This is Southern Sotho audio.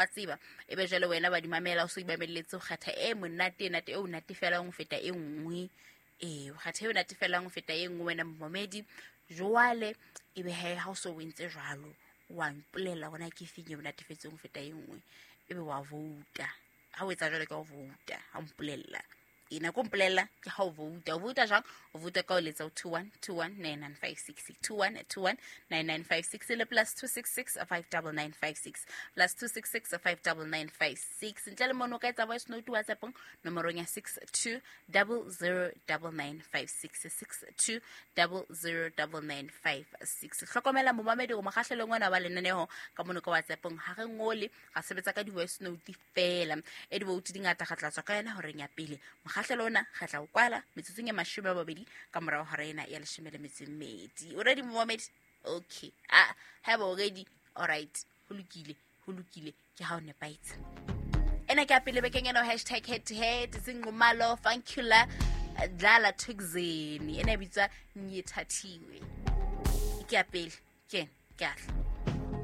Wa tseba, e be jwale wena wa di mamela, o so imamelletse, o kgetha e monate, e nate, e o natefelang ho feta e nngwe. Ee, o kgetha e o natefelang ho feta e nngwe, wena momamedi. Jwale e be he ha o so o entse jwalo, wa mpolela gona ke feng e o natefetseng ho feta e nngwe, ebe wa vouta. Ha o etsa jwalo ka o vouta, ha o mpolella e nako mpolelela ke ha o vouta. O vouta jwang? O vouta ka o letsa o 21 21 9956, 21 21 9956 le +266 59956, +266 59956. Ntle le mono, o ka etsa voice note WhatsAppong nomorong ya 62 00 9956, 62 00 9956. Hlokomela momamedi o mokgahlelong ona wa lenaneo ka mono ka WhatsAppong ha re ngole, ga sebetsa ka di-voice note fela. E di-vote di ngata, ga tla tswa ka yona horeng ya pele. Mokgahlelo ona ga tla o kwala metsotsong ya 20 ka morago hora ena ya 12. O ready, momamedi? Okay, ah, haeba o ready, alright, ho lokile, ho lokile, ke ha o nepahetse. Ena ke ya pele bekeng ena, #HeadToHead, Zinqumalo Funkula Dlala Thukzeni, ena e bitswa Nyethathiwe. Ke ya pele, ke ena, ke atla.